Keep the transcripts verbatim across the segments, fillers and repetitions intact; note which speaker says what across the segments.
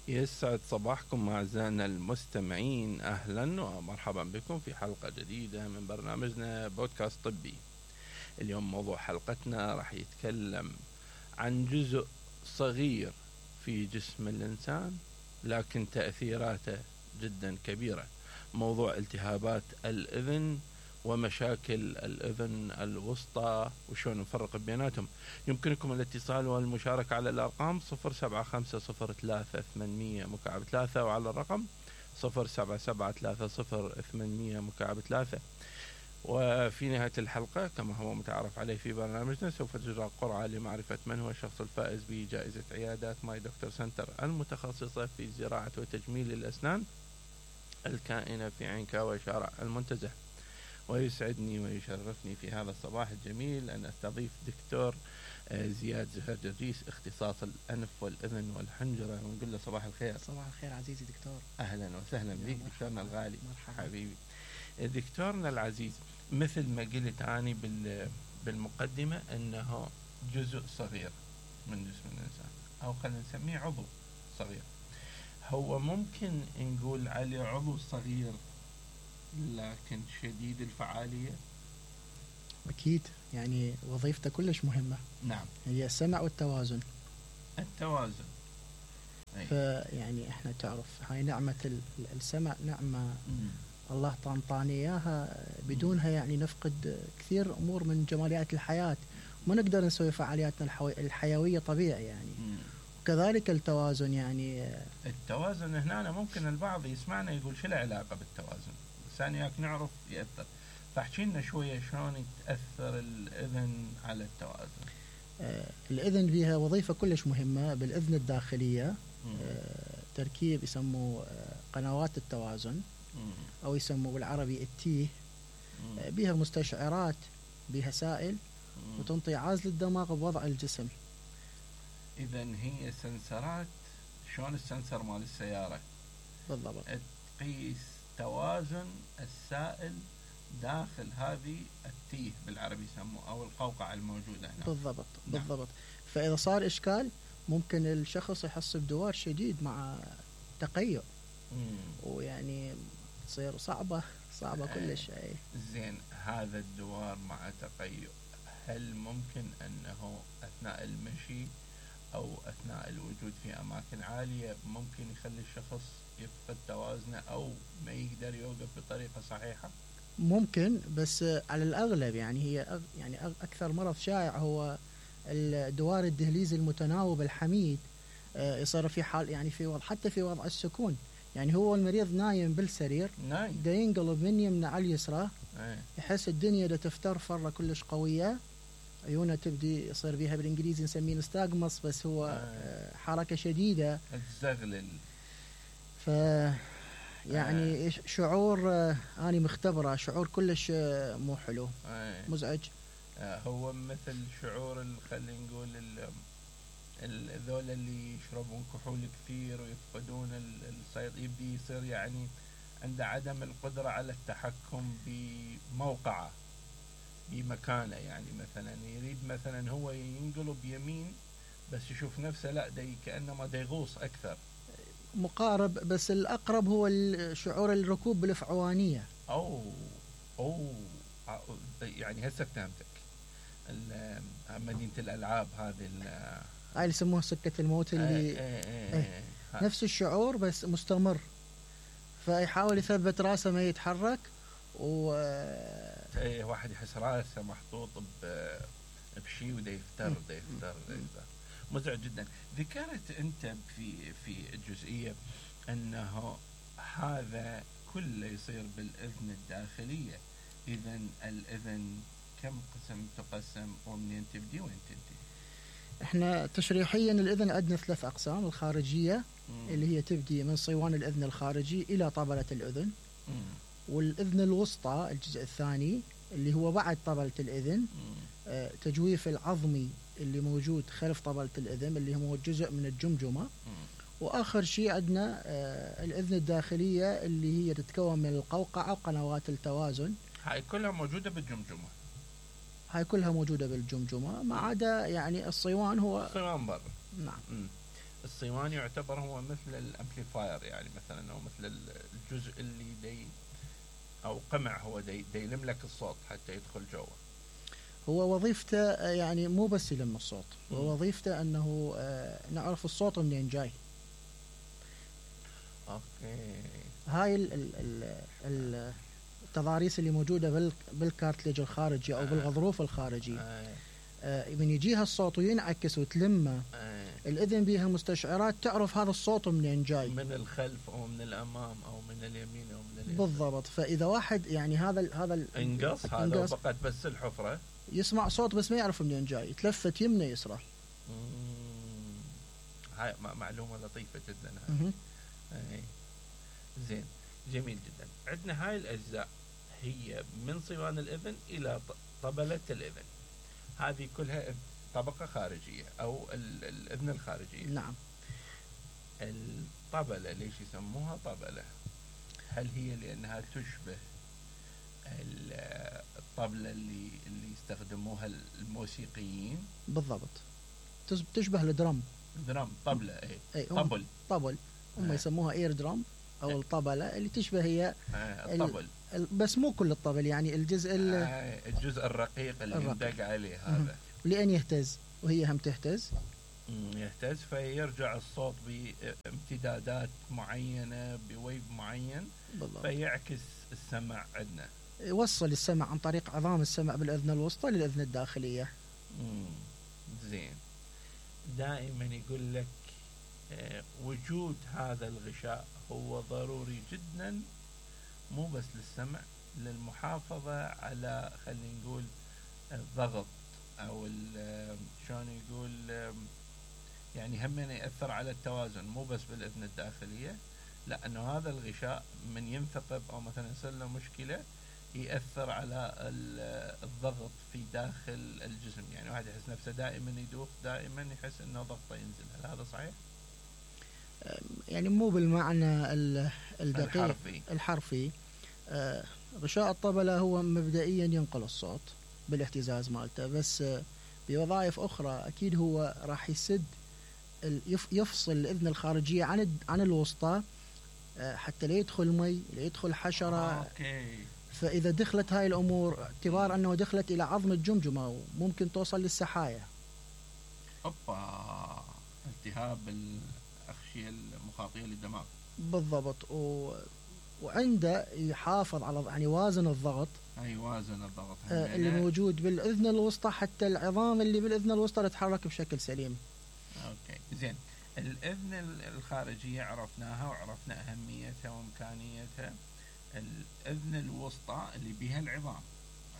Speaker 1: يسعد صباحكم أعزائنا المستمعين، أهلا ومرحبا بكم في حلقة جديدة من برنامجنا بودكاست طبي. اليوم موضوع حلقتنا راح يتكلم عن جزء صغير في جسم الإنسان لكن تأثيراته جدا كبيرة، موضوع التهابات الأذن ومشاكل الأذن الوسطى وشون نفرق بيناتهم. يمكنكم الاتصال والمشاركة على الأرقام صفر سبعة خمسة صفر ثلاثة ثمانمية مكعب ثلاثة وعلى الرقم صفر سبعة سبعة ثلاثة صفر ثمانمية مكعب ثلاثة. وفي نهاية الحلقة كما هو متعارف عليه في برنامجنا سوف تجرى قرعة لمعرفة من هو الشخص الفائز بجائزة عيادات ماي دكتور سنتر المتخصصة في زراعة وتجميل الأسنان الكائنة في عينكاوي شارع المنتزه. ويسعدني ويشرفني في هذا الصباح الجميل أن أستضيف دكتور زياد زهير جرجيس، اختصاص الأنف والأذن والحنجرة، ونقول له صباح الخير.
Speaker 2: صباح الخير عزيزي دكتور.
Speaker 1: أهلا وسهلا بك دكتورنا الغالي.
Speaker 2: مرحبا
Speaker 1: حبيبي دكتورنا العزيز، مثل ما قلت أني بالمقدمة أنه جزء صغير من جسم الإنسان، أو خلينا نسميه عضو صغير. هو ممكن نقول عليه عضو صغير لكن شديد الفعالية؟
Speaker 2: أكيد، يعني وظيفته كلش مهمة.
Speaker 1: نعم،
Speaker 2: هي السمع والتوازن.
Speaker 1: التوازن أي.
Speaker 2: فيعني احنا تعرف هاي نعمة السمع، نعمة مم. الله طانطاني إياها، بدونها يعني نفقد كثير أمور من جماليات الحياة، ما نقدر نسوي فعالياتنا الحيوية طبيعي يعني. مم. وكذلك التوازن، يعني
Speaker 1: التوازن هنا ممكن البعض يسمعنا يقول شو له علاقة بالتوازن، ثانياك نعرف يأثر. فاحكي لنا شوية شلون تأثر الأذن على التوازن.
Speaker 2: آه الأذن بها وظيفة كلش مهمة بالأذن الداخلية. آه تركيب يسموه آه قنوات التوازن، مم. أو يسموه بالعربي التيه. آه بها مستشعرات، بها سائل، مم. وتنطي عازل الدماغ بوضع الجسم.
Speaker 1: إذن هي سنسرات، شلون السنسر مال السيارة
Speaker 2: بالضبط،
Speaker 1: تقيس توازن السائل داخل هذه التيه بالعربي يسموه، أو القوقعة الموجودة هنا.
Speaker 2: بالضبط بالضبط. فإذا صار إشكال ممكن الشخص يحس بدوار شديد مع تقيؤ، ويعني تصير صعبة صعبة كلش. أي
Speaker 1: زين، هذا الدوار مع تقيؤ هل ممكن أنه أثناء المشي أو أثناء الوجود في أماكن عالية ممكن يخلي الشخص يفقد توازنه أو ما يقدر يوقف بطريقة صحيحة؟
Speaker 2: ممكن، بس على الأغلب يعني هي يعني أكثر مرض شائع هو الدوار الدهليزي المتناوب الحميد. يصير في حال يعني في وضع، حتى في وضع السكون، يعني هو المريض نايم بالسرير،
Speaker 1: نايم
Speaker 2: دا ينقلب من يمنى على اليسرى،
Speaker 1: أي.
Speaker 2: يحس الدنيا دا تفتر فرة كلش قوية، عيونه تبدي يصير بيها بالإنجليزي نسميه نستاغمص، بس هو أي. حركة شديدة
Speaker 1: تزغلل.
Speaker 2: ف يعني أي. شعور أنا مختبرة، شعور كلش مو حلو، أي. مزعج.
Speaker 1: هو مثل شعور خلينا نقول الذول اللي يشربون كحول كثير ويفقدون السيطرة، يبدي يصير يعني عنده عدم القدرة على التحكم بموقعه بمكانه. يعني مثلا يريد مثلا هو ينقلب يمين بس يشوف نفسه لا دي كأنما دي يغوص أكثر.
Speaker 2: مقارب، بس الأقرب هو شعور الركوب بالفعوانية.
Speaker 1: أو أو يعني هسه فهمتك، مدينة الألعاب هذه
Speaker 2: هاي اللي يسموها سكة الموت، اللي
Speaker 1: ايه ايه ايه
Speaker 2: نفس الشعور بس مستمر، فيحاول يثبت راسه ما يتحرك، و
Speaker 1: ايه واحد يحس راسه محطوط بشيء وده يفتر ده يفتر ده يفتر. مزعج جدا. ذكرت انت في في الجزئية انه هذا كله يصير بالاذن الداخلية. اذن الاذن كم قسم تقسم، ومنين تبدي وين تنتهي؟
Speaker 2: احنا تشريحيا الاذن عندنا ثلاث اقسام: الخارجية مم. اللي هي تبدي من صيوان الاذن الخارجي الى طبلة الاذن، مم. والاذن الوسطى الجزء الثاني اللي هو بعد طبلة الاذن، آه تجويف العظمي اللي موجود خلف طبلة الاذن اللي هو جزء من الجمجمة، مم. واخر شيء عندنا آه الاذن الداخلية اللي هي تتكون من القوقعة وقنوات التوازن.
Speaker 1: هاي كلها موجودة بالجمجمة؟
Speaker 2: هاي كلها موجودة بالجمجمة ما عدا يعني الصيوان. هو
Speaker 1: الصيوان برا.
Speaker 2: نعم.
Speaker 1: الصيوان يعتبر هو مثل الامبليفاير، يعني مثلا او مثل الجزء اللي دي او قمع هو دي, دي يلم لك الصوت حتى يدخل جوا.
Speaker 2: هو وظيفته يعني مو بس يلم الصوت، هو وظيفته انه آه نعرف الصوت منين جاي.
Speaker 1: اوكي.
Speaker 2: هاي ال ال ال ال التضاريس اللي موجوده بالكارتليج الخارجي او بالغضروف الخارجي،
Speaker 1: آه.
Speaker 2: آه من يجيها الصوت وينعكس وتلمه، آه. الاذن بيها مستشعرات تعرف هذا الصوت منين جاي،
Speaker 1: من الخلف او من الامام او من اليمين او من اليسار.
Speaker 2: بالضبط. فاذا واحد يعني هذا ال هذا ال
Speaker 1: انقص هذا وفقد بس الحفره،
Speaker 2: يسمع صوت بس ما يعرف منين جاي، يتلفت يمنى يسرى.
Speaker 1: هاي معلومه لطيفه جدا هاي. اي زين، جميل جدا. عندنا هاي الاجزاء هي من صوان الاذن الى طبله الاذن، هذه كلها طبقه خارجيه او الاذن الخارجيه.
Speaker 2: نعم.
Speaker 1: الطبله ليش يسموها طبله؟ هل هي لانها تشبه الطبله اللي اللي يستخدموها الموسيقيين؟
Speaker 2: بالضبط، تشبه الدرام.
Speaker 1: درام طبله اي,
Speaker 2: أي
Speaker 1: طبل
Speaker 2: طبل هم آه. يسموها اير درام او آه. الطبله اللي تشبه هي
Speaker 1: آه. الطبل،
Speaker 2: بس مو كل الطبل، يعني الجزء
Speaker 1: آه. الجزء الرقيق اللي يندق عليه هذا،
Speaker 2: لأن يهتز وهي هم تهتز،
Speaker 1: يهتز فيرجع الصوت بامتدادات معينه بويف معين. بالضبط. فيعكس السمع عندنا،
Speaker 2: يوصل السمع عن طريق عظام السمع بالاذن الوسطى للاذن الداخليه.
Speaker 1: امم زين. دائما يقول لك آه وجود هذا الغشاء هو ضروري جدا، مو بس للسمع، للمحافظة على خلينا نقول الضغط او شلون يقول يعني هم يأثر على التوازن، مو بس بالاذن الداخلية، لانه هذا الغشاء من ينثقب او مثلا يصير له مشكلة يأثر على الضغط في داخل الجسم، يعني واحد يحس نفسه دائما يدوخ، دائما يحس انه ضغطه ينزل. هل هذا صحيح؟
Speaker 2: يعني مو بالمعنى الدقيق
Speaker 1: الحرفي,
Speaker 2: الحرفي. آه غشاء الطبلة هو مبدئيا ينقل الصوت بالاهتزاز مالته، بس آه بوظائف اخرى اكيد هو راح يسد يفصل الاذن الخارجية عن عن الوسطى، آه حتى لا يدخل مي، لا يدخل حشرة.
Speaker 1: آه، أوكي.
Speaker 2: فإذا دخلت هاي الأمور، اعتبار أنه دخلت إلى عظم الجمجمة وممكن توصل للسحايا.
Speaker 1: أوبا، التهاب الأغشية المخاطية للدماغ.
Speaker 2: بالضبط. و... وعنده يحافظ على يعني وازن الضغط.
Speaker 1: أي وازن الضغط
Speaker 2: آه اللي موجود بالأذن الوسطى، حتى العظام اللي بالأذن الوسطى تتحرك بشكل سليم.
Speaker 1: أوكي زين. الأذن الخارجية عرفناها وعرفنا أهميتها وإمكانيتها. الأذن الوسطى اللي بها العظام،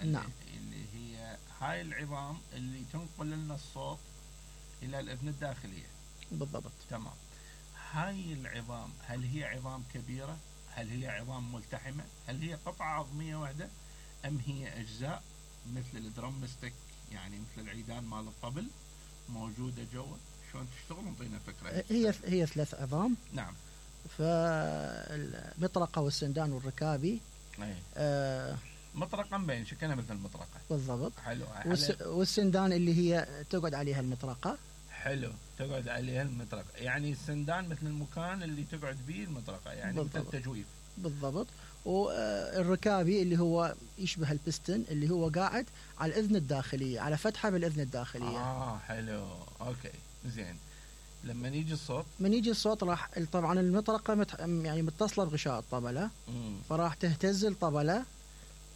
Speaker 2: نعم،
Speaker 1: اللي هي هاي العظام اللي تنقل لنا الصوت إلى الأذن الداخلية.
Speaker 2: بالضبط.
Speaker 1: تمام. هاي العظام هل هي عظام كبيرة؟ هل هي عظام ملتحمة؟ هل هي قطعة عظمية واحدة؟ أم هي أجزاء مثل الدرمستيك، يعني مثل العيدان مال الطبل موجودة جوا؟ شلون تشتغل؟ انطينا فكرة.
Speaker 2: هي هي ثلاث عظام.
Speaker 1: نعم.
Speaker 2: فالمطرقة والسندان والركابي.
Speaker 1: أي.
Speaker 2: آه
Speaker 1: مطرقة مبين شكلها مثل المطرقة.
Speaker 2: بالضبط.
Speaker 1: حلو.
Speaker 2: والس... والسندان اللي هي تقعد عليها المطرقة.
Speaker 1: حلو، تقعد عليها المطرقة، يعني السندان مثل المكان اللي تقعد به المطرقة، يعني بالضبط. مثل التجويف.
Speaker 2: بالضبط. والركابي اللي هو يشبه البستن، اللي هو قاعد على الأذن الداخلية، على فتحة بالأذن الداخلية.
Speaker 1: آه حلو، أوكي زين. لما يجي الصوت
Speaker 2: من يجي الصوت راح طبعا المطرقة مت... يعني متصلة بغشاء الطبلة، مم. فراح تهتز الطبلة،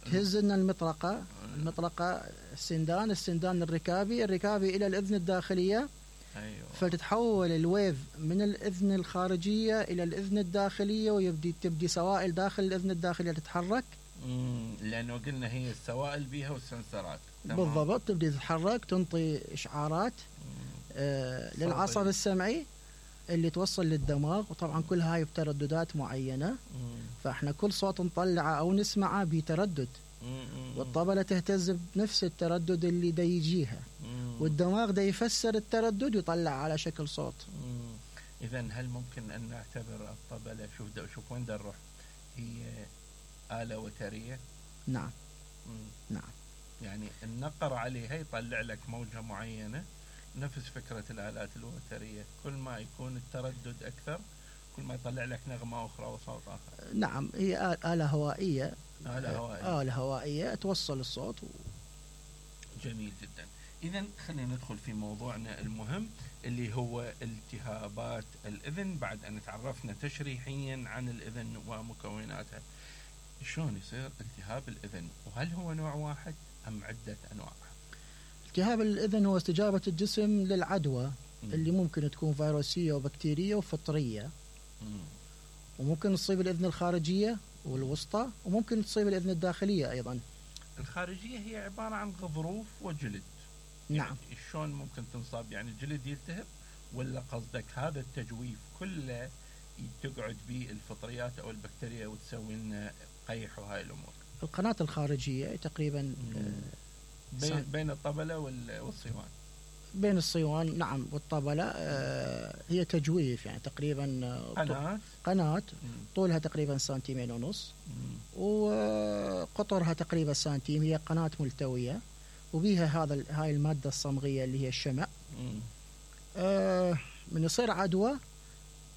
Speaker 2: تهز لنا المطرقة، المطرقة السندان، السندان الركابي، الركابي إلى الأذن الداخلية.
Speaker 1: أيوة.
Speaker 2: فتتحول الويف من الأذن الخارجية إلى الأذن الداخلية، ويبدي تبدي سوائل داخل الأذن الداخلية تتحرك.
Speaker 1: امم لأنه قلنا هي السوائل بيها والسنسرات.
Speaker 2: بالضبط. تبدي تتحرك، تنطي إشعارات آه للعصب السمعي اللي توصل للدماغ، وطبعا كل هاي بترددات معينة. مم. فاحنا كل صوت نطلعه أو نسمعه بتردد، والطبلة تهتز بنفس التردد اللي دا يجيها، والدماغ دا يفسر التردد ويطلع على شكل صوت.
Speaker 1: إذا هل ممكن أن نعتبر الطبلة، شوف دا شوف وين دا نروح، هي آلة وترية؟
Speaker 2: نعم.
Speaker 1: مم.
Speaker 2: نعم.
Speaker 1: يعني النقر عليها يطلع لك موجة معينة نفس فكرة الآلات الوترية، كل ما يكون التردد أكثر كل ما يطلع لك نغمة أخرى وصوت آخر.
Speaker 2: نعم، هي آلة هوائية.
Speaker 1: آلة هوائية.
Speaker 2: آلة هوائية توصل الصوت و...
Speaker 1: جميل جدا. إذن خلينا ندخل في موضوعنا المهم اللي هو التهابات الأذن. بعد أن تعرفنا تشريحيا عن الأذن ومكوناتها، شلون يصير التهاب الأذن؟ وهل هو نوع واحد أم عدة أنواع؟
Speaker 2: التهاب الأذن هو استجابة الجسم للعدوى م. اللي ممكن تكون فيروسية وبكتيرية وفطرية. م. وممكن تصيب الأذن الخارجية والوسطى، وممكن تصيب الأذن الداخلية أيضا.
Speaker 1: الخارجية هي عبارة عن غضروف وجلد.
Speaker 2: نعم.
Speaker 1: يعني شلون ممكن تنصاب؟ يعني الجلد يلتهب ولا قصدك هذا التجويف كله تقعد به الفطريات أو البكتيريا وتسوي لنا قيح وهاي الأمور؟
Speaker 2: القناة الخارجية تقريبا
Speaker 1: بين, بين الطبلة والصيوان.
Speaker 2: بين الصيوان نعم والطبلة. آه هي تجويف، يعني تقريبا
Speaker 1: قناة
Speaker 2: قناة طولها تقريبا سنتيمين ونص وقطرها تقريبا سنتيم. هي قناة ملتوية وبيها هذا هاي المادة الصمغية اللي هي الشمع. آه من يصير عدوى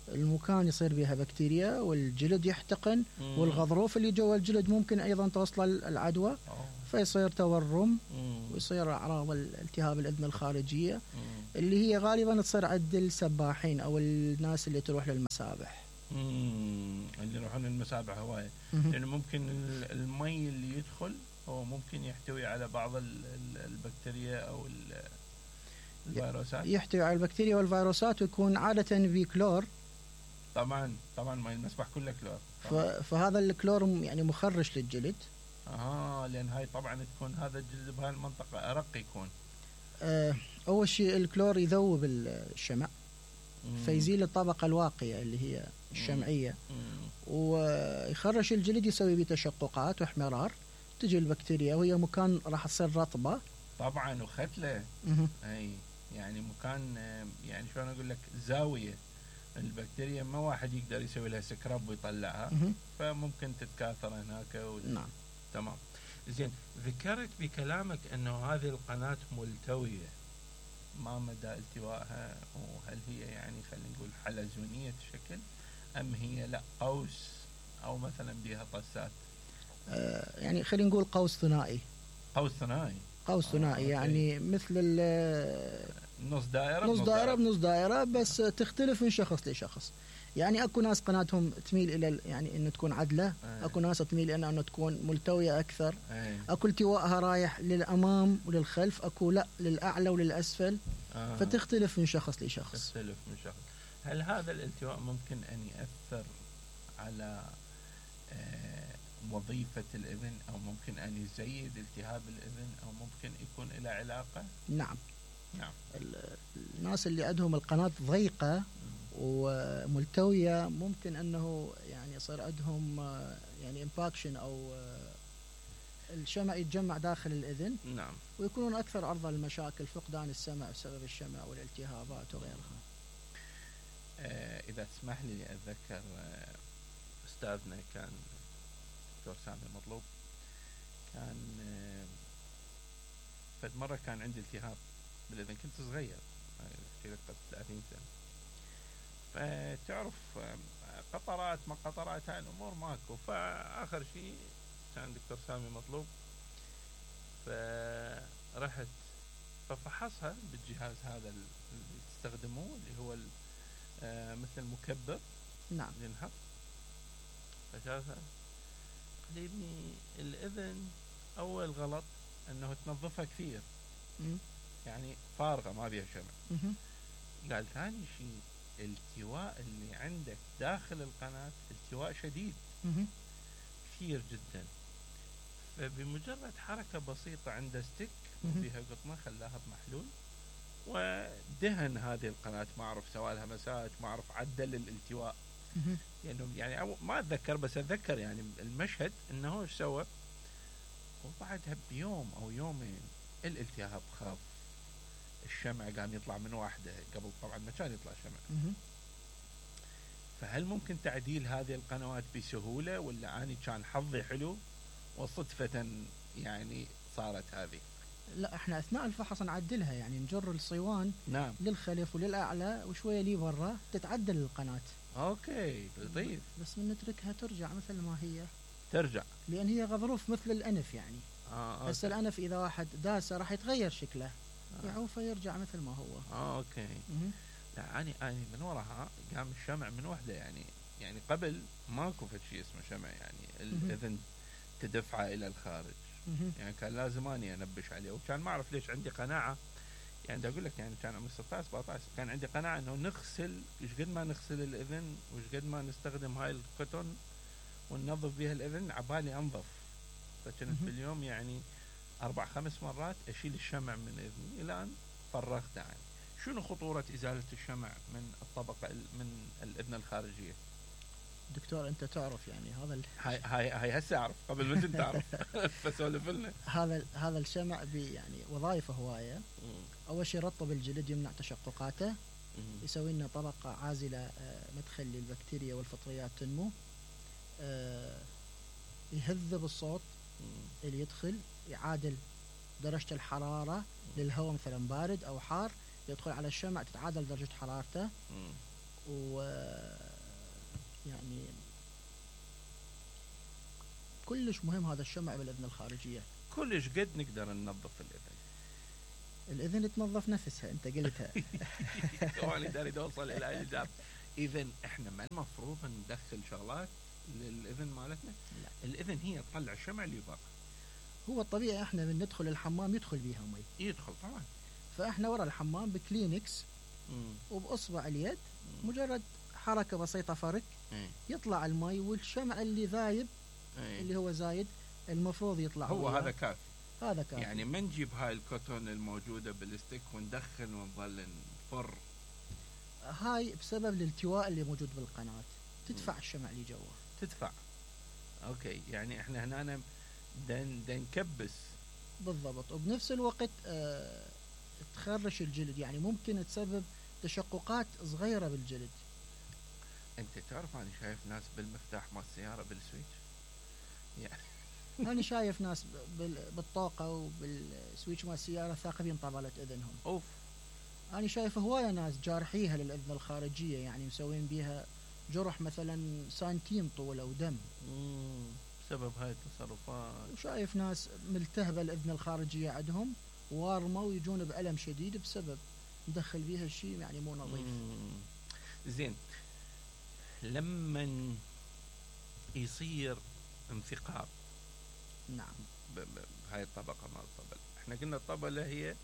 Speaker 2: المكان يصير بها بكتيريا والجلد يحتقن، مم. والغضروف اللي جوا الجلد ممكن أيضا توصل العدوى، أوه. فيصير تورم، مم. ويصير أعراض التهاب الأذن الخارجية، مم. اللي هي غالبا تصير عند السباحين أو الناس اللي تروح للمسابح.
Speaker 1: مم. اللي يروحون للمسابح هواية، لأنه ممكن المي اللي يدخل هو ممكن يحتوي على بعض البكتيريا أو الفيروسات.
Speaker 2: يحتوي على البكتيريا والفيروسات ويكون عادة بكلور.
Speaker 1: طبعا طبعا ما المسبح كله كلور.
Speaker 2: فهذا الكلور يعني مخرش للجلد.
Speaker 1: اه لان هاي طبعا تكون هذا الجلد بهاي المنطقه ارق يكون.
Speaker 2: آه اول شيء الكلور يذوب الشمع، مم. فيزيل الطبقه الواقيه اللي هي الشمعيه، مم. ويخرش الجلد يسوي به تشققات واحمرار، تجي البكتيريا وهي مكان راح تصير رطبه
Speaker 1: طبعا وختله. اي يعني مكان، يعني شلون اقول لك، زاويه. البكتيريا ما واحد يقدر يسوي لها سكراب ويطلعها، مه. فممكن تتكاثر هناك و...
Speaker 2: نعم.
Speaker 1: تمام. زين، ذكرت بكلامك انه هذه القناة ملتوية، ما مدى التوائها؟ وهل هي يعني خلينا نقول حلزونية شكل ام هي لا قوس او مثلا بها طسات؟
Speaker 2: آه يعني خلينا نقول قوس ثنائي.
Speaker 1: قوس ثنائي.
Speaker 2: قوس ثنائي. آه يعني مثل ال
Speaker 1: نص دائرة
Speaker 2: نص دائرة بنص دائرة، بس تختلف من شخص لشخص. يعني اكو ناس قناتهم تميل الى يعني انه تكون عدلة، أيه. اكو ناس تميل الى انه تكون ملتوية اكثر، أيه. اكو التوائها رايح للامام وللخلف، اكو لا للاعلى وللاسفل، آه. فتختلف من شخص لشخص.
Speaker 1: تختلف من شخص. هل هذا الالتواء ممكن ان يأثر على آه وظيفة الإذن، أو ممكن أن يزيد التهاب الإذن، أو ممكن يكون إلى علاقة؟
Speaker 2: نعم.
Speaker 1: نعم.
Speaker 2: الناس اللي عندهم القناة ضيقة وملتوية ممكن أنه يعني يصير عندهم يعني امباكشن أو الشمع يتجمع داخل الإذن.
Speaker 1: نعم.
Speaker 2: ويكونون أكثر عرضة للمشاكل، فقدان السمع بسبب الشمع والالتهابات وغيرها.
Speaker 1: آه إذا تسمح لي أتذكر آه أستاذنا كان دكتور سامي مطلوب، كان آه فد مرة كان عندي التهاب بالإذن، كنت صغير في قبل ثلاثين سنة، فتعرف قطرات ما قطرات هاي الأمور ماكو. فآخر شيء كان دكتور سامي مطلوب، فرحت ففحصها بالجهاز هذا اللي تستخدموه اللي هو مثل مكبر.
Speaker 2: نعم.
Speaker 1: ينحط. فشافها قال لي ابني الإذن أول غلط أنه تنظفها كثير، م? يعني فارغة ما بيها شمع. قال ثاني شيء التواء اللي عندك داخل القناة التواء شديد مه. كثير جدا، فبمجرد حركة بسيطة عنده ستيك وفيها قطنة خلاها بمحلول ودهن هذه القناة، ما أعرف سوى لها مساج، ما أعرف عدل الالتواء يعني, يعني ما أتذكر، بس أتذكر يعني المشهد أنه إيش سوى، وبعدها بيوم أو يومين الالتهاب خاف، الشمع قام يطلع من واحدة، قبل طبعا ما كان يطلع شمع. فهل ممكن تعديل هذه القنوات بسهولة، ولا أنا كان حظي حلو وصدفة يعني صارت هذه؟
Speaker 2: لا احنا اثناء الفحص نعدلها، يعني نجر الصيوان
Speaker 1: نعم
Speaker 2: للخلف وللاعلى وشويه لي برا تتعدل القناه.
Speaker 1: اوكي لطيف.
Speaker 2: بس من نتركها ترجع مثل ما هي،
Speaker 1: ترجع
Speaker 2: لان هي غضروف مثل الانف يعني.
Speaker 1: اه
Speaker 2: هسه الانف اذا واحد داسه راح يتغير شكله،
Speaker 1: آه.
Speaker 2: يعوفه يرجع مثل ما هو.
Speaker 1: اه اوكي.
Speaker 2: مه.
Speaker 1: لا اني اني من وراها قام الشمع من وحده، يعني يعني قبل ماكو فد شيء اسمه شمع، يعني الاذن تدفعه الى الخارج.
Speaker 2: مه.
Speaker 1: يعني كان لازم اني انبش عليه، وكان ما اعرف ليش عندي قناعه، يعني بدي اقول لك يعني كان عمري ستة عشر سبعة عشر كان عندي قناعه انه نغسل ايش قد ما نغسل الاذن وايش قد ما نستخدم هاي الكوتون وننظف بها الاذن عبالي انظف. فكنت باليوم يعني اربع خمس مرات اشيل الشمع من اذني الى ان فرغت عنه. شنو خطوره ازاله الشمع من الطبقه من الاذن الخارجيه؟
Speaker 2: دكتور انت تعرف يعني هذا ال...
Speaker 1: هاي هاي هاي هسه اعرف، قبل ما انت تعرف فسولف لنا.
Speaker 2: هذا هذا الشمع بي يعني وظائفه هوايه. اول شيء يرطب الجلد، يمنع تشققاته، يسوي لنا طبقه عازله مدخل للبكتيريا والفطريات تنمو، يهذب الصوت اللي يدخل، يعادل درجه الحراره للهواء مثلا بارد او حار، يدخل على الشمع تتعادل درجه حرارته. و يعني كلش مهم هذا الشمع بالاذن الخارجيه.
Speaker 1: كلش قد نقدر ننظف الاذن؟
Speaker 2: الاذن تنظف نفسها، انت قلتها.
Speaker 1: وانا داري اوصل الى الاجابه. اذا احنا ما المفروض ندخل شغلات للاذن مالتنا؟
Speaker 2: لا،
Speaker 1: الاذن هي تطلع الشمع اللي برا.
Speaker 2: هو الطبيعي احنا من ندخل الحمام يدخل بيها مي،
Speaker 1: يدخل طبعا.
Speaker 2: فاحنا ورا الحمام بكلينكس
Speaker 1: مم.
Speaker 2: وباصبع اليد
Speaker 1: مم.
Speaker 2: مجرد حركه بسيطه فرك
Speaker 1: ايه.
Speaker 2: يطلع المي، والشمع اللي ذايب
Speaker 1: ايه.
Speaker 2: اللي هو زايد المفروض يطلع.
Speaker 1: هو هذا كافي.
Speaker 2: هذا كافي.
Speaker 1: يعني ما نجيب هاي الكوتون الموجوده بالستيك وندخل ونظل نفر.
Speaker 2: هاي بسبب الالتواء اللي موجود بالقناه، تدفع الشمع اللي جوا.
Speaker 1: تدفع. اوكي، يعني احنا هنا دن دن نكبس.
Speaker 2: بالضبط. وبنفس الوقت اه تخرش الجلد، يعني ممكن تسبب تشققات صغيره بالجلد.
Speaker 1: انت تعرف انا شايف ناس بالمفتاح مال السياره بالسويتش، يعني
Speaker 2: انا شايف ناس بالطاقه وبالسويتش مال السياره ثاقبين طبله اذنهم.
Speaker 1: اوف.
Speaker 2: انا شايف هوايه ناس جارحيها للاذن الخارجيه، يعني مسوين بيها جرح مثلا سنتيم طول او دم.
Speaker 1: امم بسبب هاي التصرفات.
Speaker 2: وشايف ناس ملتهبه الاذن الخارجيه عندهم وارمه ويجون بألم شديد بسبب ندخل بيها الشيء يعني مو نظيف.
Speaker 1: زين، لما يصير انثقاب
Speaker 2: نعم
Speaker 1: بهاي الطبقة مال الطبلة، احنا قلنا الطبلة هي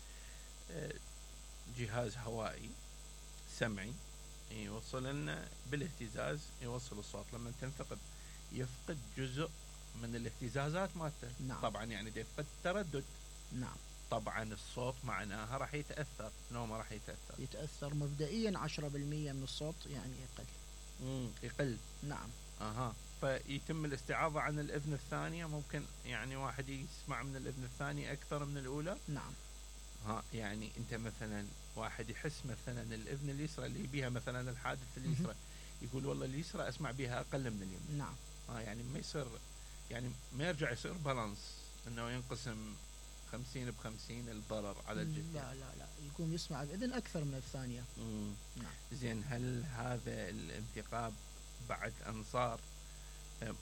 Speaker 1: جهاز هوائي سمعي يوصل لنا بالاهتزاز، يوصل الصوت. لما تنثقب يفقد جزء من الاهتزازات مالته.
Speaker 2: نعم.
Speaker 1: طبعا يعني ده يفقد التردد.
Speaker 2: نعم.
Speaker 1: طبعا الصوت معناها راح يتأثر. شنو ما راح يتأثر؟
Speaker 2: يتأثر مبدئيا عشرة بالمية من الصوت يعني يقل.
Speaker 1: امم يقل.
Speaker 2: نعم.
Speaker 1: اها. فيتم الاستعاضة عن الأذن الثانية. ممكن يعني واحد يسمع من الأذن الثانية أكثر من الأولى.
Speaker 2: نعم.
Speaker 1: ها يعني أنت مثلا واحد يحس مثلا الأذن اليسرى اللي بيها مثلا الحادث اليسرى، يقول والله اليسرى أسمع بيها أقل من اليمين.
Speaker 2: نعم.
Speaker 1: ها يعني ما يصير، يعني ما يرجع يصير بالانس إنه ينقسم خمسين بخمسين الضرر على الجلد.
Speaker 2: لا لا لا، يقوم يسمع بإذن أكثر من الثانية.
Speaker 1: مم.
Speaker 2: نعم.
Speaker 1: زين، هل هذا الانثقاب بعد أنصار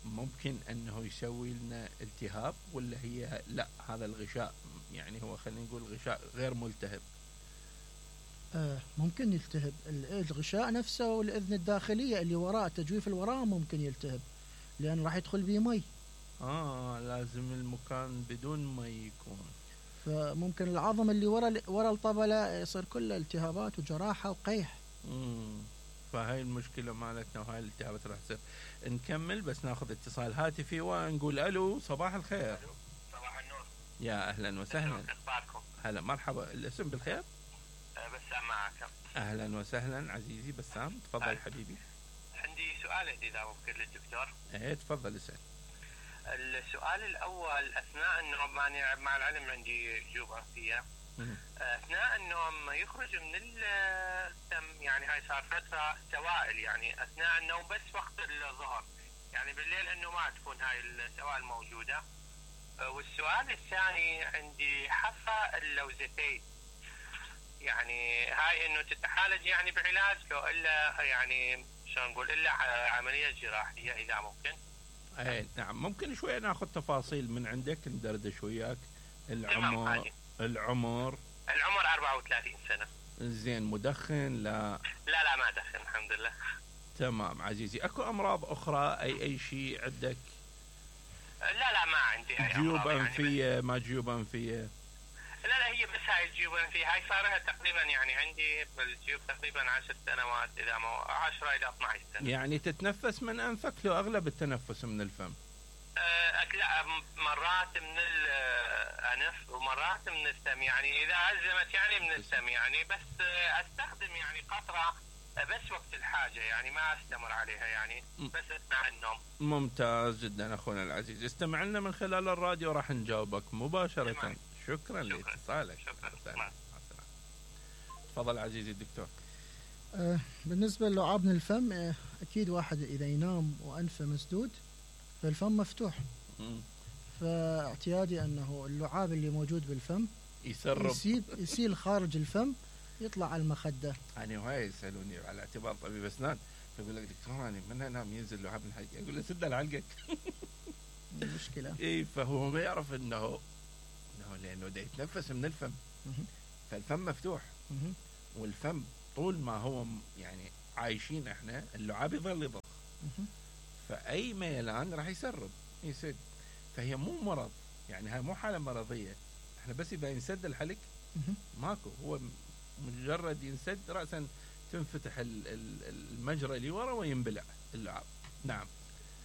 Speaker 1: ممكن أنه يسوي لنا التهاب، ولا هي لا هذا الغشاء يعني هو خلينا نقول غشاء غير ملتهب؟
Speaker 2: آه ممكن يلتهب الغشاء نفسه، والإذن الداخلية اللي وراء التجويف اللي وراء ممكن يلتهب، لأن راح يدخل به مي.
Speaker 1: آه لازم المكان بدون مي يكون.
Speaker 2: فممكن العظم اللي ورا ورا الطبلة يصير كله التهابات وجراحة وقيح.
Speaker 1: امم فهاي المشكلة مالتنا وهاي الالتهابات راح تصير. نكمل بس ناخذ اتصال هاتفي ونقول الو. صباح الخير.
Speaker 3: الو صباح النور.
Speaker 1: يا اهلا وسهلا.
Speaker 3: اخباركم؟
Speaker 1: هلا مرحبا. الاسم بالخير؟
Speaker 3: أه بسام معك.
Speaker 1: اهلا وسهلا عزيزي بسام. تفضل أه. حبيبي.
Speaker 3: عندي سؤال اذا ممكن للدكتور.
Speaker 1: ايه تفضل اسال.
Speaker 3: السؤال الاول، اثناء النوم مع العلم عندي جيوب انفيه، اثناء النوم يخرج من الدم، يعني هاي صار فتره سوائل يعني اثناء النوم بس وقت الظهر، يعني بالليل انه ما تكون هاي السوائل موجوده. والسؤال الثاني عندي حصى اللوزتين، يعني هاي انه تتعالج يعني بعلاج لو الا يعني شلون نقول الا عمليه جراحيه اذا ممكن؟
Speaker 1: اي نعم، ممكن شويه ناخذ تفاصيل من عندك ندردش وياك. العمر العمر
Speaker 3: العمر أربعة وثلاثين سنه.
Speaker 1: زين، مدخن؟ لا
Speaker 3: لا لا ما ادخن الحمد لله.
Speaker 1: تمام عزيزي. اكو امراض اخرى اي اي شيء عندك؟
Speaker 3: لا لا ما عندي اي
Speaker 1: جيوب
Speaker 3: امراض
Speaker 1: انفيه؟
Speaker 3: يعني
Speaker 1: ما جيوب انفيه؟
Speaker 3: لا لا هي بس هاي الجيوب الانفيه، هاي صار لها تقريبا يعني عندي بالجيوب تقريبا عشر سنوات، اذا ما عشرة الى اثني عشر سنه.
Speaker 1: يعني تتنفس من انفك لو اغلب التنفس من الفم؟
Speaker 3: أه لا مرات من الانف ومرات من الفم، يعني اذا ازمت يعني من الفم يعني، بس استخدم يعني قطره بس وقت الحاجه، يعني ما استمر عليها يعني بس اثناء النوم.
Speaker 1: ممتاز جدا اخونا العزيز، استمع لنا من خلال الراديو راح نجاوبك مباشره.
Speaker 3: تمام.
Speaker 1: شكرا لاتصالك.
Speaker 3: شكرا.
Speaker 1: تفضل عزيزي الدكتور.
Speaker 2: آه بالنسبة للعاب الفم، آه أكيد واحد إذا ينام وأنفه مسدود فالفم مفتوح،
Speaker 1: م.
Speaker 2: فاعتيادي أنه اللعاب اللي موجود بالفم
Speaker 1: يسرب
Speaker 2: يسيب يسيل خارج الفم يطلع على المخدة.
Speaker 1: يعني هواي يسألوني على اعتبار طبيب أسنان، يقول لك دكتور أنا من أنام ينزل لعاب من حقي، أقول له سد لعلقك.
Speaker 2: المشكلة
Speaker 1: إيه، فهو ما يعرف إنه إنه لأنه ده يتنفس من الفم، فالفم مفتوح، والفم طول ما هو يعني عايشين إحنا اللعاب يظل يضخ، فأي ميلان راح يسرب يسد. فهي مو مرض، يعني هاي مو حالة مرضية، إحنا بس إذا ينسد الحلق ماكو، هو مجرد ينسد رأسا تنفتح المجرى اللي ورا وينبلع اللعاب. نعم.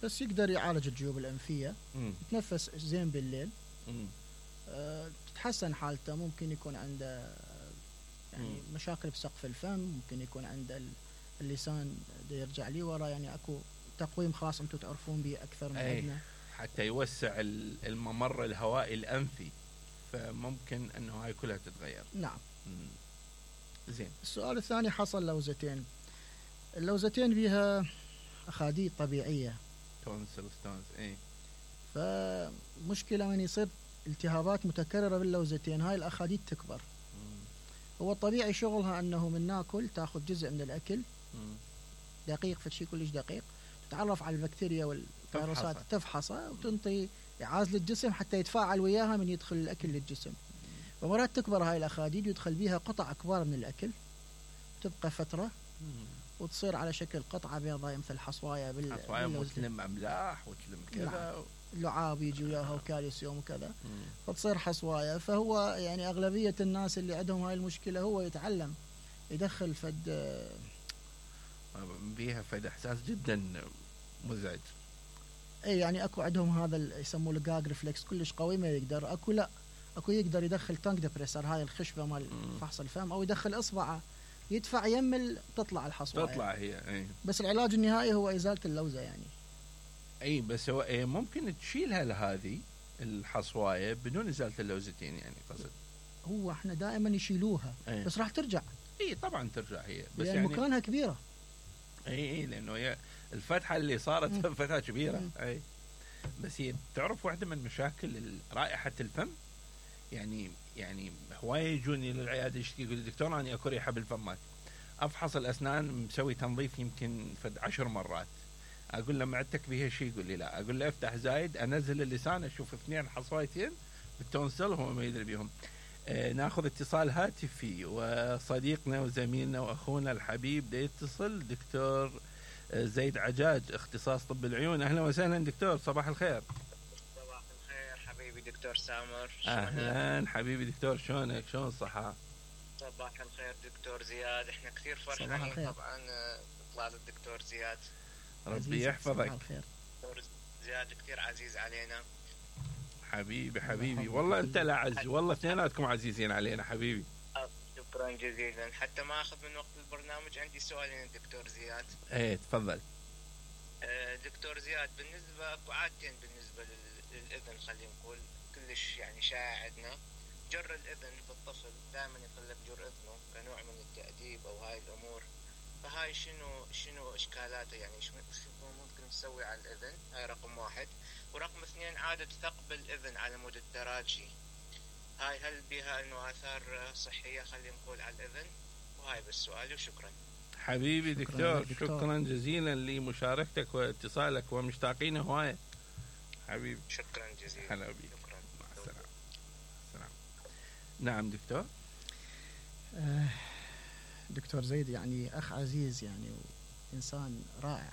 Speaker 2: بس يقدر يعالج الجيوب الأنفية،
Speaker 1: مم.
Speaker 2: يتنفس زين بالليل،
Speaker 1: مم.
Speaker 2: أه تتحسن حالته. ممكن يكون عنده يعني
Speaker 1: مم.
Speaker 2: مشاكل بسقف الفم، ممكن يكون عنده اللسان يرجع لي ورا، يعني اكو تقويم خاص انتم تعرفون به اكثر من عندنا،
Speaker 1: حتى يوسع الممر الهوائي الأنفي، فممكن انه هاي كلها تتغير.
Speaker 2: نعم.
Speaker 1: مم. زين.
Speaker 2: السؤال الثاني حصل لوزتين، اللوزتين بها اخاديد طبيعيه،
Speaker 1: تونسل ستونز. اي،
Speaker 2: فمشكله من يصير التهابات متكرره باللوزتين هاي الاخاديد تكبر.
Speaker 1: مم.
Speaker 2: هو الطبيعي شغلها انه من ناكل تاخذ جزء من الاكل،
Speaker 1: مم.
Speaker 2: دقيق فشي كلش دقيق، تتعرف على البكتيريا والفيروسات، تفحصها وتنطي إعاز للجسم حتى يتفاعل وياها من يدخل الأكل للجسم. ومرات تكبر هاي الأخاديد ويدخل بيها قطع كبار من الأكل، تبقى فترة وتصير على شكل قطعة بيضاء مثل حصوايا بال
Speaker 1: حصوايا وتلم أملاح وتلم كذا،
Speaker 2: اللعاب يجي وياها وكالسيوم وكذا، فتصير حصوايا. فهو يعني أغلبية الناس اللي عندهم هاي المشكلة هو يتعلم يدخل فد
Speaker 1: بيها فد إحساس جدا مزعج.
Speaker 2: اي يعني اكو عندهم هذا يسموه الجاج ريفلكس كلش قوي، ما يقدر. اكو لا اكو يقدر يدخل تانك ديبريسر، هاي الخشبه مال فحص الفم، او يدخل اصبعه يدفع يمل تطلع الحصوه،
Speaker 1: تطلع هي. اي
Speaker 2: بس العلاج النهائي هو ازاله اللوزه يعني.
Speaker 1: اي بس هو إيه ممكن تشيلها لهذه الحصوايه بدون ازاله اللوزتين، يعني قصد
Speaker 2: هو احنا دائما يشيلوها. أي. بس راح ترجع.
Speaker 1: اي طبعا ترجع هي، بس
Speaker 2: يعني,
Speaker 1: يعني
Speaker 2: مكانها كبيره.
Speaker 1: اي اي لانه هي الفتحه اللي صارت فتحه كبيره. مم. اي بس هي تعرف واحده من مشاكل رائحه الفم، يعني يعني هوايه يجوني للعياده يشتكي يقول لي دكتور انا اكو ريحه بالفمات، افحص الاسنان مسوي تنظيف يمكن فد عشر مرات، اقول له معدتك بيها شيء؟ يقول لي لا. اقول له افتح زايد، انزل اللسان اشوف اثنين حصويتين بالتونسل هو ما يدري بيهم. آه ناخذ اتصال هاتفي، وصديقنا وزميلنا واخونا الحبيب ده يتصل، دكتور زيد عجاج اختصاص طب العيون. اهلا وسهلا دكتور، صباح الخير.
Speaker 3: صباح الخير حبيبي دكتور سامر.
Speaker 1: اهلا حبيبي دكتور، شلونك؟ شلون الصحة؟
Speaker 3: صباح الخير دكتور زياد، احنا كثير فرحانين طبعا اطلال الدكتور زياد،
Speaker 1: ربي يحفظك.
Speaker 3: دكتور زياد كثير عزيز علينا
Speaker 1: حبيبي حبيبي، والله انت لا عز، والله اثنيناتكم عزيزين علينا حبيبي.
Speaker 3: شكرا جزيلا. حتى ما اخذ من وقت البرنامج، عندي سؤالين الدكتور زياد.
Speaker 1: ايه تفضل.
Speaker 3: أه دكتور زياد، بالنسبه اكو عادتين بالنسبه للاذن، خلينا نقول كلش يعني شائع عندنا، جر الاذن في الطفل، دائما يقول لك جر اذنه كنوع من التاديب او هاي الامور.
Speaker 4: فهاي شنو شنو اشكالاته يعني شو ممكن نسوي على الاذن؟ هاي رقم واحد. ورقم اثنين عادة ثقب الاذن على مود التراجي، هاي هل بها انه اثار صحية خلينا نقول على الاذن؟ وهاي بس سؤالي وشكرا.
Speaker 1: حبيبي دكتور, دكتور شكرا جزيلا لمشاركتك واتصالك ومشتاقين هواية حبيبي.
Speaker 4: شكرا جزيلا.
Speaker 1: هلا بيك. شكرا. مع السلامة. السلام. نعم دكتور.
Speaker 2: آه دكتور زيد يعني أخ عزيز يعني إنسان رائع.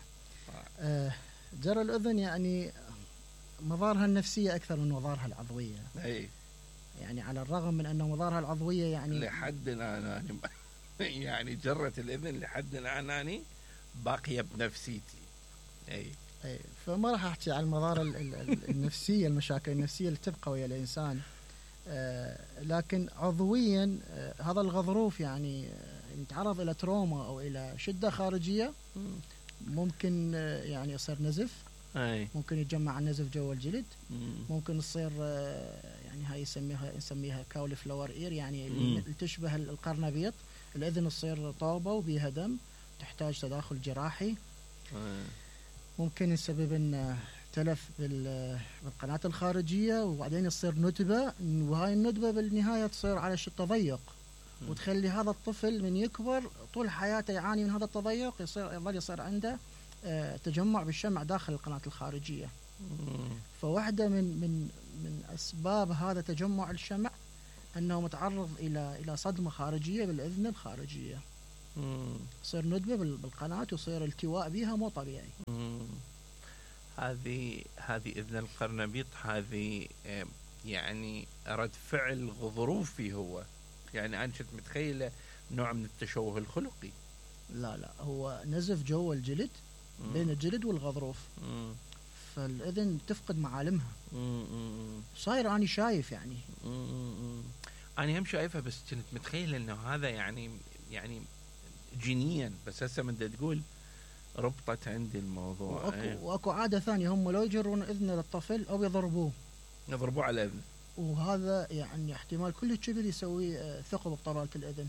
Speaker 2: آه جرى الأذن يعني مظاهرها النفسية أكثر من مظاهرها العضوية.
Speaker 1: أي.
Speaker 2: يعني على الرغم من أن مظاهرها العضوية يعني
Speaker 1: لحد الآن يعني جرة الإذن لحد الآن أنا باقية بنفسيتي. أي.
Speaker 2: أي فما راح أحكي عن المظاهر النفسية المشاكل النفسية اللي تبقى ويا الإنسان. آه لكن عضويا آه هذا الغضروف يعني آه يتعرض إلى تروما أو إلى شدة خارجية ممكن آه يعني يصير نزف.
Speaker 1: أي.
Speaker 2: ممكن يتجمع النزف جوا الجلد.
Speaker 1: مم.
Speaker 2: ممكن تصير آه يعني هاي يسميها نسميها كاوليفلاور اير يعني اللي تشبه القرنبيط، الأذن تصير طوبة وبيها دم تحتاج تداخل جراحي.
Speaker 1: أي.
Speaker 2: ممكن يسبب ان تلف بالقناة الخارجية وبعدين يصير ندبة، وهاي الندبة بالنهاية تصير على شيء تضيق وتخلي هذا الطفل من يكبر طول حياته يعاني من هذا التضيق، يصير يظل يصير عنده تجمع بالشمع داخل القناة الخارجية. فواحدة من من من أسباب هذا تجمع الشمع أنه متعرض إلى إلى صدمة خارجية بالأذن الخارجية. يصير ندبة بالقناة ويصير التواء بها مو طبيعي.
Speaker 1: هذه هذه إذن القرنبيط هذه يعني رد فعل غضروفي هو، يعني أنا كنت متخيلة نوع من التشوه الخلقي.
Speaker 2: لا لا هو نزف جوا الجلد مم. بين الجلد والغضروف. مم. فالإذن تفقد معالمها. صاير أنا شايف يعني.
Speaker 1: مم. أنا هم شايفها بس كنت متخيلة إنه هذا يعني يعني جينيا، بس هسه من تقول ربطت عندي الموضوع.
Speaker 2: وأكو, أيه. وأكو عادة ثانية هم لو يجرون إذن للطفل أو يضربوه
Speaker 1: يضربوه على الأذن،
Speaker 2: وهذا يعني احتمال كل كبير يسوي ثقب بطبلة الأذن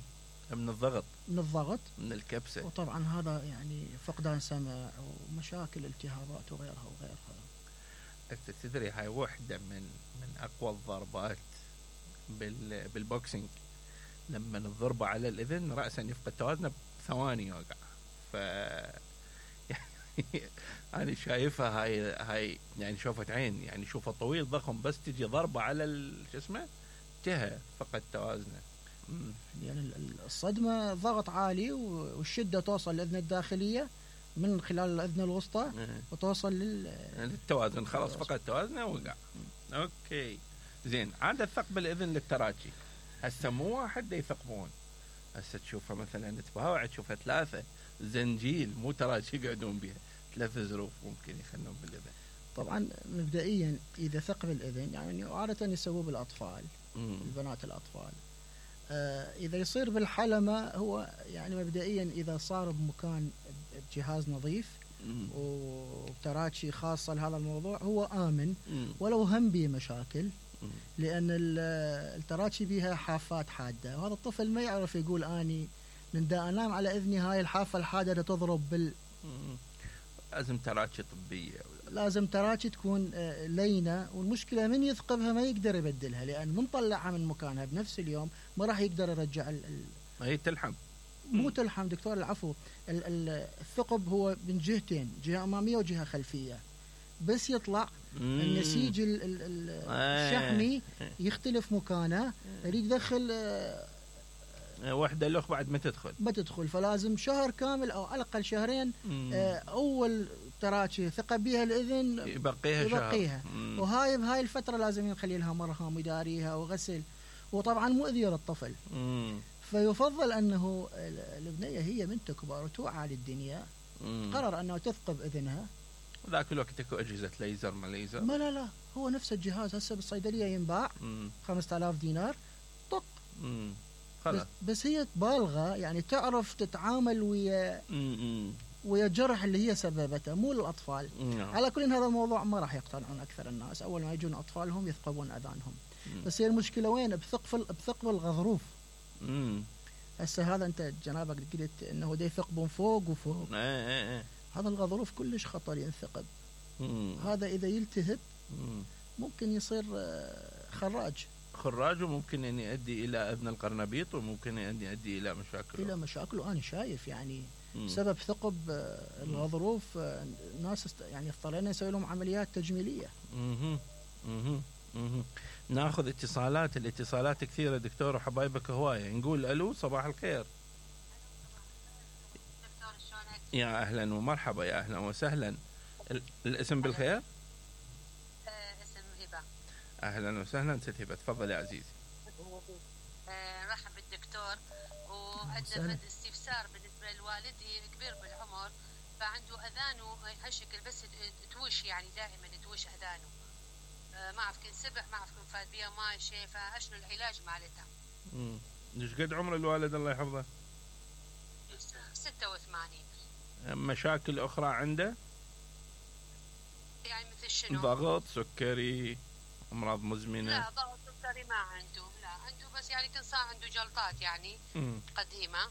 Speaker 1: من الضغط
Speaker 2: من الضغط
Speaker 1: من الكبسة.
Speaker 2: وطبعا هذا يعني فقدان سمع ومشاكل التهابات وغيرها وغيرها.
Speaker 1: أنت تدري هاي واحدة من من أقوى الضربات بال بالبوكسينج، لما الضربة على الأذن رأسا يفقد توازنه بثواني يوقع. ف يعني أنا شايفها هاي هاي يعني شوفة عين، يعني شوفه طويل ضخم بس تجي ضربة على شو اسمه جهة فقد توازنه.
Speaker 2: يعني الصدمة ضغط عالي والشدة توصل للأذن الداخلية من خلال الأذن الوسطى وتوصل لل...
Speaker 1: للتوازن، خلاص فقد توازنه ووقع. أوكي زين. عادة ثقب الأذن للتراجي هسه مو واحد يثقبون، هسه تشوفها مثلا تباوع تشوفها ثلاثة زنجيل مو تراجي يقعدون بها، ثلاثة ظروف ممكن يخلون بالأذن.
Speaker 2: طبعا مبدئيا إذا ثقب الأذن يعني عادة يسووه بالأطفال مم. البنات الأطفال. آه إذا يصير بالحلمة هو يعني مبدئيا إذا صار بمكان بجهاز نظيف مم. وتراجي خاصة لهذا الموضوع هو آمن مم. ولو هم به مشاكل مم. لأن التراجي بها حافات حادة وهذا الطفل ما يعرف يقول أني من دا أنام على إذني هاي الحافة الحادة تضرب بال
Speaker 1: مم. لازم تراجي طبية،
Speaker 2: لازم تراجي تكون لينة، والمشكلة من يثقبها ما يقدر يبدلها لأن من طلعها من مكانها بنفس اليوم ما راح يقدر يرجع ال
Speaker 1: هي تلحم
Speaker 2: مو تلحم دكتور العفو. الثقب هو من جهتين، جهة أمامية وجهة خلفية، بس يطلع مم. النسيج ال ال ال الشحمي يختلف مكانه، يريد يدخل
Speaker 1: واحدة الأخ بعد ما تدخل
Speaker 2: ما تدخل فلازم شهر كامل أو على الأقل شهرين آه أول تراجي ثقب بها الإذن
Speaker 1: يبقيها,
Speaker 2: يبقيها. وهاي بهاي الفترة لازم نخلي لها مرهم ويداريها وغسل، وطبعا مؤذية للطفل. مم. فيفضل أنه البنية هي من تكبر وتوعى للدنيا مم. قرر أنه تثقب إذنها.
Speaker 1: ذاك الوقت تكو أجهزة ليزر ما ليزر
Speaker 2: ما لا لا هو نفس الجهاز هسه بالصيدلية ينباع خمسة آلاف دينار طق. مم. بس, بس هي بالغة يعني تعرف تتعامل ويا ويا الجرح اللي هي سببته مو للأطفال. مم. على كل هذا الموضوع ما راح يقتنعون أكثر الناس، أول ما يجون أطفالهم يثقبون أذانهم. مم. بس هي المشكلة وين؟ بثقب بثقب الغضروف.
Speaker 1: مم.
Speaker 2: هسه هذا انت جنابك قلت انه دا يثقبون فوق وفوق.
Speaker 1: ايه ايه ايه.
Speaker 2: هذا الغضروف كلش خطر ينثقب.
Speaker 1: مم.
Speaker 2: هذا اذا يلتهب
Speaker 1: مم.
Speaker 2: ممكن يصير آه، خراج.
Speaker 1: خراج، وممكن ان يؤدي الى اذن القرنبيط، وممكن ان يؤدي الى مشاكل
Speaker 2: الى مشاكل. وانا شايف يعني
Speaker 1: مم.
Speaker 2: سبب ثقب آه، الغضروف آه، ناس است... يعني اضطرينا نسوي لهم عمليات تجميليه.
Speaker 1: مهم. مهم. مهم. ناخذ اتصالات. الاتصالات كثيره دكتور وحبايبك هوايه. نقول الو، صباح الخير.
Speaker 5: دكتور شلونك؟
Speaker 1: يا اهلا ومرحبا، يا اهلا وسهلا. ال- الاسم بالخير؟
Speaker 5: آه اسم هبه.
Speaker 1: اهلا وسهلا ست هبه، تفضل يا عزيزي.
Speaker 5: آه رحب بالدكتور. وعندنا
Speaker 2: سهلا.
Speaker 5: فد استفسار بالنسبه لوالدي كبير بالعمر، فعنده اذانه هالشكل بس توش، يعني دائما توش اذانه. آه ما اعرف كن سبع، ما اعرف كن فاد بيها ماي شيء، فاشنو العلاج مالتها؟
Speaker 1: امم ايش قد عمر الوالد الله يحفظه؟
Speaker 5: ستة وثمانين.
Speaker 1: مشاكل اخرى عنده؟
Speaker 5: يعني مثل شنو؟
Speaker 1: ضغط، سكري، امراض مزمنه؟
Speaker 5: لا ضغط سكري ما عنده، لا عنده بس يعني كان صار عنده جلطات يعني
Speaker 1: مم.
Speaker 5: قديمه،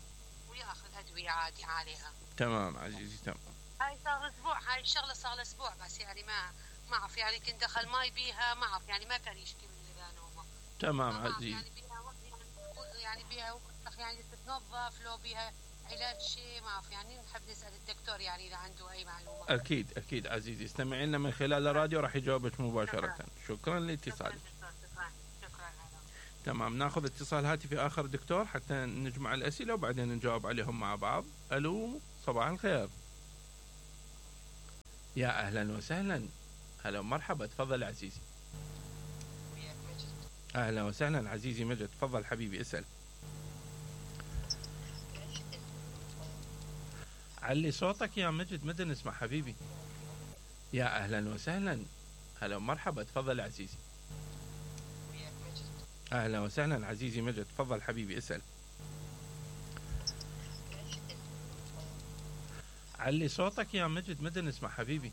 Speaker 5: وياخذ ادويه عادي عليها.
Speaker 1: تمام عزيزي، تمام.
Speaker 5: هاي صار اسبوع، هاي الشغله صار له اسبوع بس يعني ما ما اعرف يعني كنت دخل ماي بيها، ما اعرف يعني ما كان يشكي من اذا نومه.
Speaker 1: تمام
Speaker 5: ما أعرف
Speaker 1: عزيزي.
Speaker 5: يعني بيها وقت يعني يعني بيها وقت يعني تتنظف، لو بيها علاج شيء ما اعرف، يعني نحب نسال الدكتور يعني اذا عنده اي معلومه.
Speaker 1: اكيد اكيد عزيزي، استمعي لنا من خلال الراديو راح يجاوبك مباشره. شكرا لاتصالك.
Speaker 5: شكرا شكرا شكرا.
Speaker 1: تمام، ناخذ اتصال هاتفي اخر دكتور حتى نجمع الاسئله وبعدين نجاوب عليهم مع بعض. الو، صباح الخير. يا اهلا وسهلا. هلا ومرحبا، تفضل عزيزي.
Speaker 4: وياك مجد.
Speaker 1: اهلا وسهلا عزيزي مجد، تفضل حبيبي اسال. علي صوتك يا مجد، مدى نسمع حبيبي. يا اهلا وسهلا. هلا ومرحبا، تفضل عزيزي.
Speaker 4: وياك مجد.
Speaker 1: اهلا وسهلا عزيزي مجد، تفضل حبيبي اسال. علي صوتك يا مجد، مدى نسمع حبيبي.